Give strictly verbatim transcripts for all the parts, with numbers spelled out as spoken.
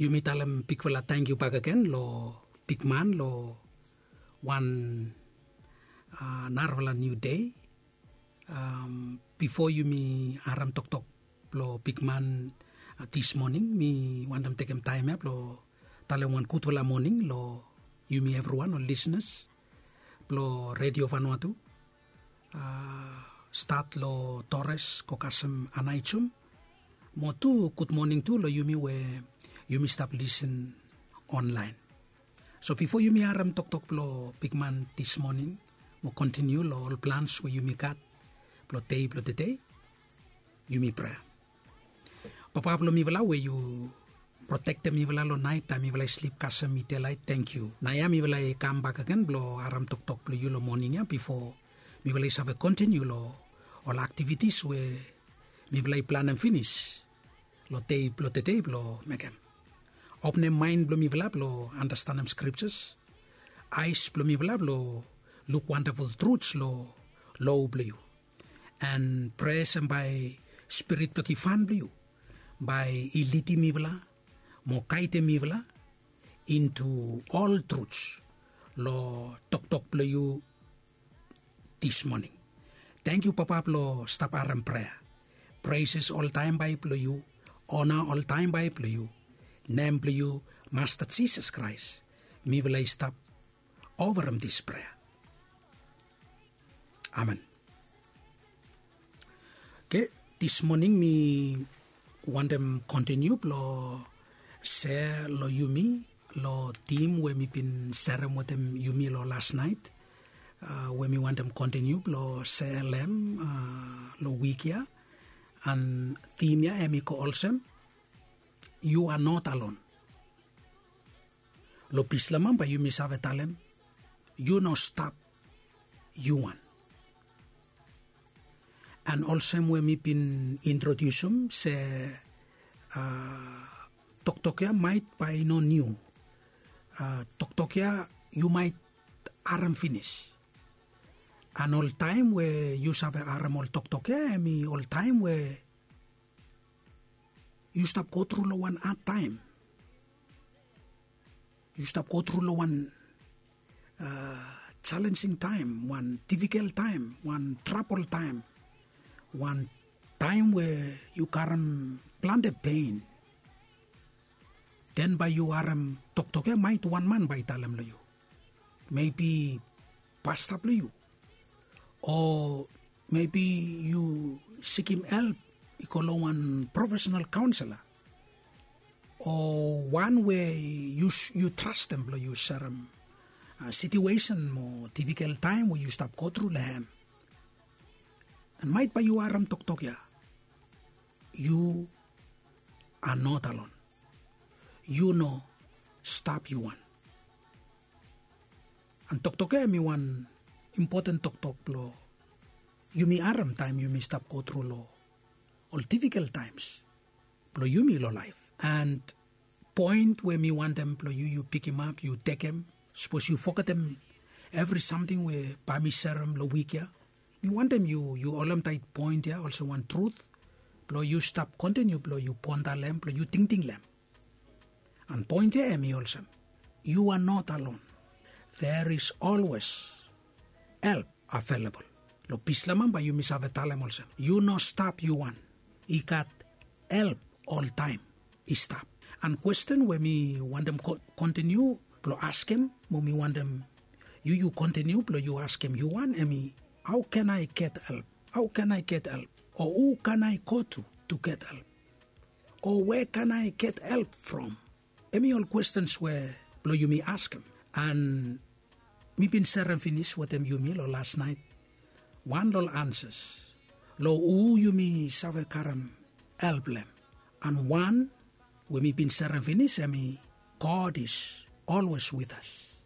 Yumi talem bigfala tangkiu bakegen lo bigman lo wan narafala niu dei. Bifo yumi harim toktok blong bigman dis moning, mi wantem tekem taem ya blong talem wan gudfala moning long yumi evriwan ol lisnas blong redio vanua tu, stat long tores go kasem anaijum. Mo tu gudmoning tu long yumi we yumi stap lisin onlaen. So bifo yumi harim toktok blong bigman dis moning mo kontiniu long ol plans we yumi gat blong dei blong tedei, yumi prea. Papa blong mifala we yu protektem mifala long naet taem mifala i slip kasem i delaet, tangkiu. Naoia mifala i kam bakegen blong harim toktok blong yu long moning ya bifo mifala i save kontiniu long ol aktivitis we mifala i planem finis long dei blong tedei blong mekem. Openem maen blong mifala blong anastenem skriptas, aes blong mifala blong luk wandaful truts long lo blong yu. An prea olsem bae spirit blong givhan blong yu bae i lidim mifala mo gaedem mifala intu ol truts long toktok blong yu dis moning. Tangkiu Papa blong stap harim prea. Preses oltaem bae blong yu, ona oltaem bae blong yu. Nem blong yu Masta Jisas Kraes mifala i stap ovarem dis prea. Amen. Oke, dis moning mi wantem kontiniu blong sea long yumi long tim we mi bin serem wetem yumi long las naet, we mi wantem kontiniu blong sea long em long wik ya. An tim ya em i go olsem, yu a not alon. Long Bislamam bae yumi save talem, yu no stap yu wan. An olsem we mi bin introdiusum se toktok ya maet bae i no niu. Toktok ya yu maet harem finis. An ol taem we yu save harem ol toktok ya em i ol taem we yu stap gotru long wan adtaem. Yu stap gotru long wan jalenjing taem, wan difikel taem, wan trabol taem, wan taem we yu karem plante pen. Den bae yu harem toktok ya maet wan man bae i talem long yu. Mebi pasta blong yu, o mebi yu sikim help i go long wan profesenal kaonsela, o wan we yu trastem blong yu serem situesen mo difikel taem we yu stap gotru long em. An maet bae yu harem toktok ya, yu a not alon. Yu no stap yu wan. An toktok ya em i wan impoten toktok blong yumi harem taem yumi stap gotru long ol difikel taems blong yumi long laef. An poen we mi wantem blong yu yu pikimap, yu tekem, sapos yu fogetem evri samting we bae mi serem long wik ya, mi wantem yu yu holemtaet poen ya olsem wan trut blong yu stap kontiniu blong yu ponda long em, blong yu tingting long em. An poen ya em i olsem, yu a not alon. There is always help available. Long Bislamam bae yumi save talem olsem, yu no stap yu wan. I gat help oltaem i stap. An kwesten we mi wantem kontiniu blong askem, mo mi wantem yu yu kontiniu blong yu askem yu wan, em i, hao can I get help? Hao can I get help? O hu can I go tu tu get help? O where can I get help from? Em i ol kwestens we blong yumi askem. An mi bin serem finis wetem yumi long las naet wan long ol ansas long hu yumi save karem help long em. An wan we mi bin serem finis em i, God is always with us,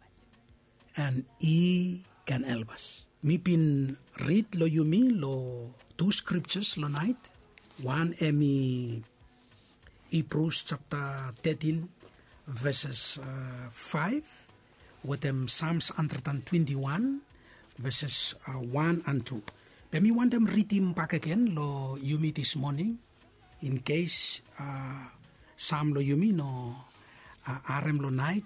and He can help us. Mi bin rid long yumi long tu skriptas long naet. Wan em i Hibrus japta tetin, veses faef, wetem Sams handred an twenti wan, veses wan an tu. Be mi wantem ridim bakegen long yumi dis moning, in kes sam long yumi no harem long nait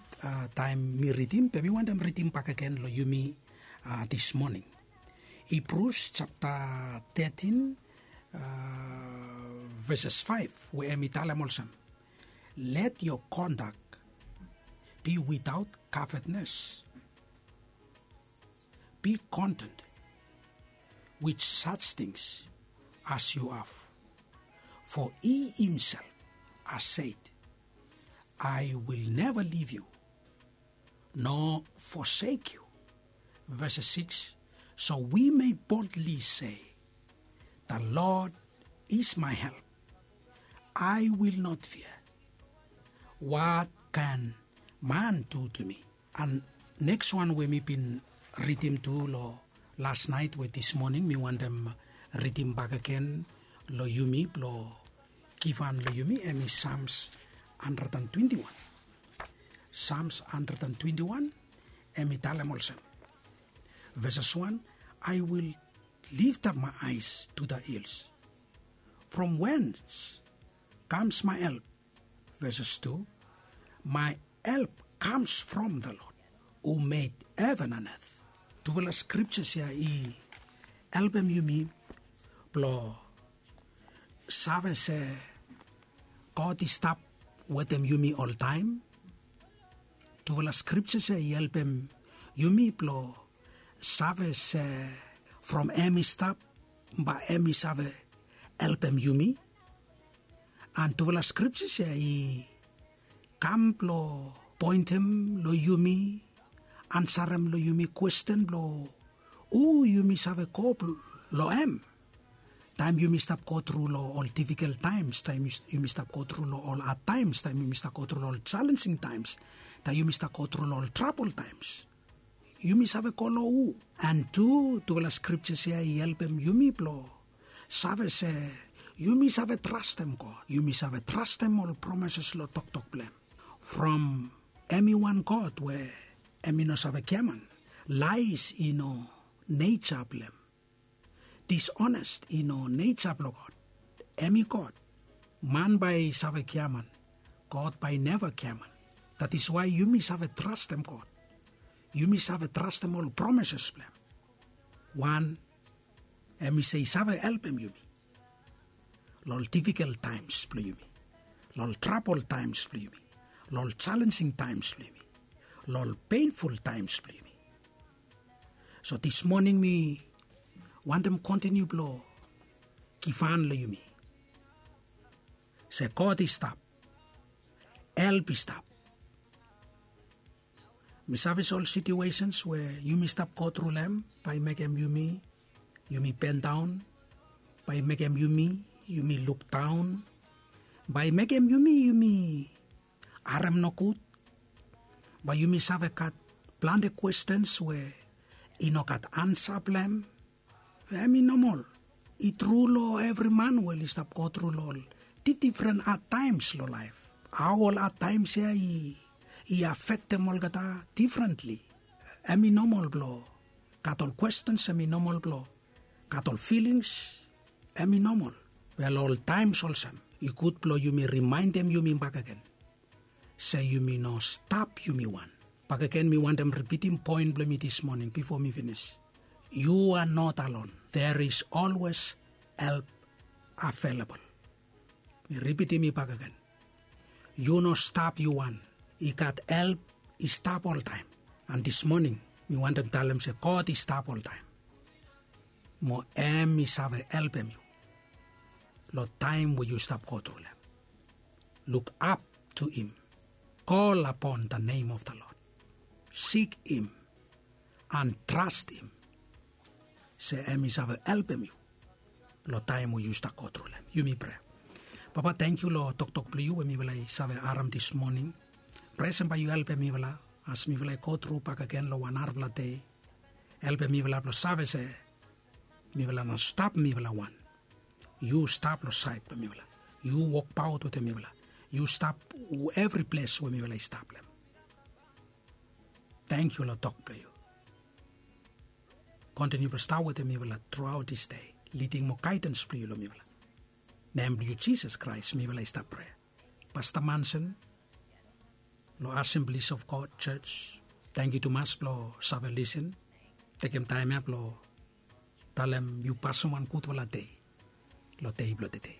taem mi ridim be mi wantem ridim bakegen long yumi dismoning. Hibrus japta tetin veses faef we em i talem olsem, let yo kondak bi witaot kavetnes. Bi kontent wit saj tings as yu have. Fo i himsel has sed, ai wil neva liv yu no fosek yu. Ves siks. So wi me boldli se, da lod is mai help, ai wil not fia. Wat kan man du tu mi? An neks wan we mi bin ridim tu long las nait we dismoning mi wantem ridim bakegen long yumi blong givhan long yumi em i sams handred an twenti wan. Sams handred an twenti wan em i talem olsem, veses wan, ai wil liftap mai ais tu da hils. From wens kams mai help? Veses tu, mai help kams from da lod hu med heven an et. Tufala skriptas ya i helpem yumi blong save se god i stap wetem yumi oltaem. Tufala skriptas ya i helpem yumi blong save se from em i stap bae em i save helpem yumi. An tufala skriptas ya i kam blong poentem long yumi ansarem long yumi kwesten blong hu yumi save go long em. Taem yumi stap gotru long ol difikol taems, taem yumi stap gotru long ol had taems, taem yumi stap gotru long ol jalensing taems, taem yumi stap gotru long ol trabol taems, yumi save go long hu? An tu tufala skriptas ya i helpem yumi blong save se yumi save trastem god, yumi save trastem ol promeses long toktok blong em. From em i wan god we em i no save giaman. Lais i no neja blong em. Disonest i no neja blong god. Em i god. Man bae i save giaman, god bae i neva giaman. Datis wae yumi save trastem god. Yumi save trastem ol promeses blong em. Wan, em i se i save helpem yumi long ol difikol taems blong yumi, long ol trabol taems blong yumi, long ol jalensing taems blong yumi, long ol penful taems blong yumi. So dismoning mi wantem kontiniu blong givhan long yumi se god i stap, help i stap. Mi save se ol situesens we yumi stap gotru long em bae i mekem yumi yumi bendaon, bae i mekem yumi yumi lukdaon, bae i mekem yumi yumi harem nogud, bae yumi save gat plante kwestens we i no gat ansa blong em. Em i nomol. I tru long evri man we oli stap gotru long ol difdifren had taems long laef. Hao ol had taems ya i afektem olgeta difrentli. Em i nomol blong gat ol kwestens, em i nomol blong gat ol filings. Em i nomol. Be long ol taems olsem i gud blong yumi rimaendem yumi bakegen se yumi no stap yumi wan. Bakegen mi wantem ripitim poen blong mi dismoning bifo mi finis. Yu a not alon. There is always help available. Mi ripitim i bakegen. Yu no stap yu wan. I gat help i stap oltaem. An dismoning mi wantem talem se god i stap oltaem. Mo em i save helpem yu long taem we yu stap gotru long em. Luk ap tu him. Kol apon da nem of da lod. Sik him an tras him se em i save helpem yu long taem we yu stap gotru long em. Yumi prea. Papa, tangkiu long toktok blong yu we mifala i save harem dismoning. Prea se bae yu helpem mifala as mifala i gotru bakegen long wan narafala dei. Helpem mifala blong save se mifala no stap mifala wan. Yu stap long saed blong mifala. Yu wokbaot wetem mifala. Yu stap evri ples we mifala i stap long em. Tangkiu long tok blong yu. Kontiniu blong stap wetem mifala truaot dis dei. Liding mo gaedans blong yu long mifala. Nem blong yu Jisas Kraes mifala i stap prea. Pasta Manson, long asemblis of god church. Tangkiu tumas blong save lisin. Tekem taem ya blong talem yu pasim wan gudfala dei long dei blong tede.